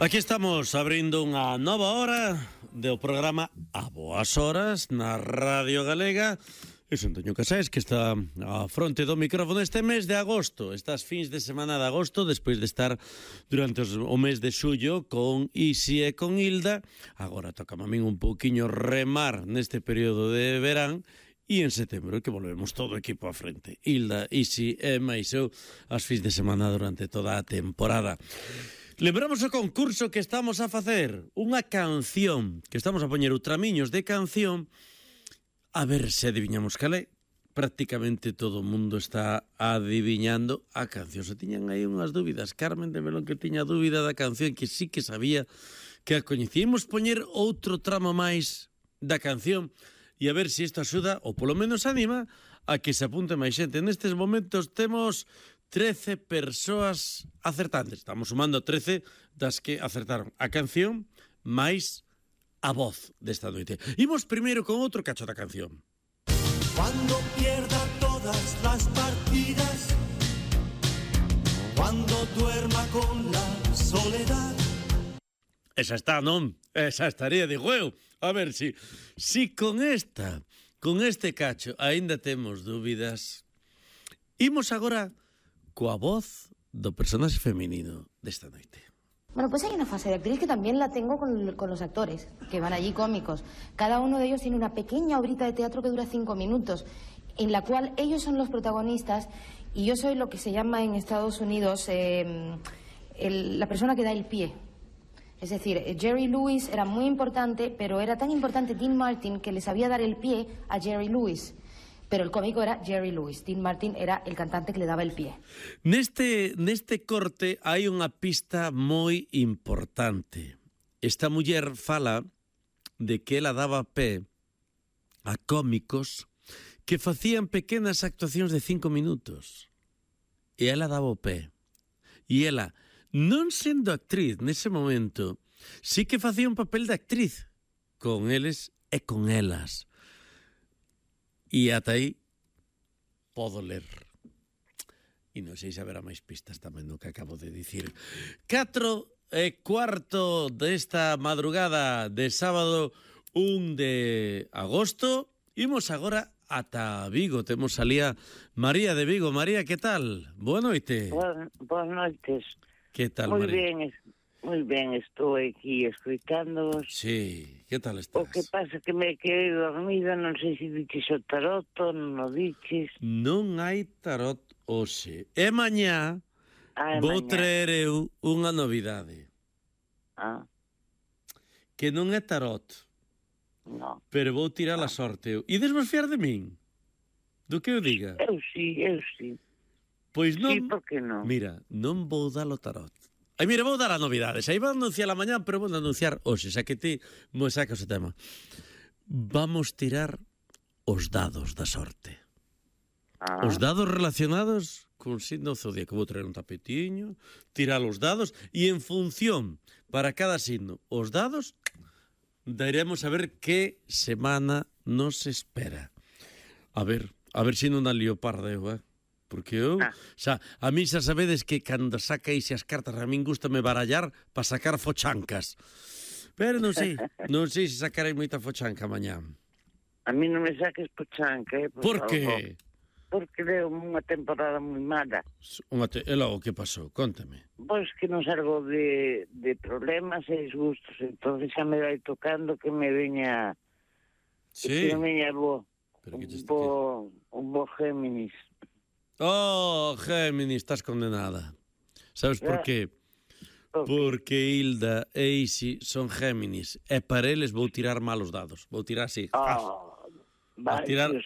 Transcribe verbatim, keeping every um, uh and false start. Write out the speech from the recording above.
Aquí estamos abrindo unha nova hora do programa A Boas Horas na Radio Galega. E son Antonio Casais, que está á fronte do micrófono este mes de agosto, estas fins de semana de agosto, despois de estar durante os, o mes de xullo con Isi e con Hilda. Agora toca a min un pouquiño remar neste período de verán, e en setembro que volvemos todo o equipo á frente. Hilda, Isi e máis eu as fins de semana durante toda a temporada. Lembramos o concurso que estamos a facer, unha canción, que estamos a poñer outramiños de canción, a ver se adiviñamos cal é. Prácticamente todo o mundo está adiviñando a canción. Se tiñan aí unhas dúbidas, Carmen de Melón que tiña dúbida da canción, que sí que sabía que a coñecíamos, poñer outro tramo máis da canción e a ver se isto axuda, ou polo menos anima, a que se apunte máis xente. Nestes momentos temos trece persoas acertantes. Estamos sumando trece das que acertaron a canción máis a voz desta noite. Imos primeiro con outro cacho da canción. Cuando pierda todas las partidas, cuando duerma con la soledad. Esa está, non? Esa estaría, digo eu. A ver si, si con esta, con este cacho, aínda temos dúbidas. Imos agora coa voz do personaxe feminino desta noite. Bueno, pues hay una fase de actriz que también la tengo con, con los actores, que van allí cómicos. Cada uno de ellos tiene una pequeña obrita de teatro que dura cinco minutos, en la cual ellos son los protagonistas y yo soy lo que se llama en Estados Unidos eh, el, la persona que da el pie. Es decir, Jerry Lewis era muy importante, pero era tan importante Dean Martin que le sabía dar el pie a Jerry Lewis. Pero el cómico era Jerry Lewis. Dean Martin era el cantante que le daba el pie. Neste, neste corte hai unha pista moi importante. Esta muller fala de que ela daba pé a cómicos que facían pequenas actuacións de cinco minutos. E ela daba o pé. E ela, non sendo actriz nese momento, sí que facía un papel de actriz con eles e con elas. E ata aí podo ler. E non sei se haberá máis pistas tamén do que acabo de dicir. Catro e cuarto desta madrugada de sábado un de agosto. Imos agora ata Vigo. Temos ali a María de Vigo. María, que tal? Boa noite. Boas, boas noites. Que tal, Moi María? ben, moi ben, estou aquí escoitándoos. Sí, que tal estás? O que pasa que me quedei dormida, non sei se diches o tarot, non o diches. Non hai tarot hoxe. E mañá Ah, vou mañá. traer eu unha novidade. Ah, Que non é tarot, non. pero vou tirar a sorte eu. Ides vos fiar de min? Do que eu diga? Eu sí, eu sí. Pois non... Sí, por que non? Mira, non vou dar o tarot. Ai, mira, vou dar a novidade. Xa iba a anunciar a mañá, pero vou anunciar hoxe, xa que ti mo sacas o tema. Vamos tirar os dados da sorte. Ah, Os dados relacionados con signo zodíaco. Vou traer un tapetiño, tirar os dados, e en función para cada signo, os dados, daremos a ver que semana nos espera. A ver, a ver se non dá leoparda eu, eh? Porque eu, Ah. xa, a mí xa sabedes que cando sacaise as cartas a min gustame barallar para sacar fochancas. Pero non sei, non sei se sacarei moita fochanca mañá. a mí non me saques pochanca, eh? Por favor. que? Porque deu unha temporada moi mala. Unha te... E logo, que pasou? Contame. Pois que non salgo de, de problemas e disgustos, entonces xa me vai tocando que me veña... Sí. Que me veña bo, Pero que un te- bo, un bo Géminis. Oh, Géminis, estás condenada. Sabes por Eh. qué? Ok. Porque Hilda e Isi son Géminis. E para eles vou tirar malos dados. Vou tirar así. Ah, A vai, tirar Dios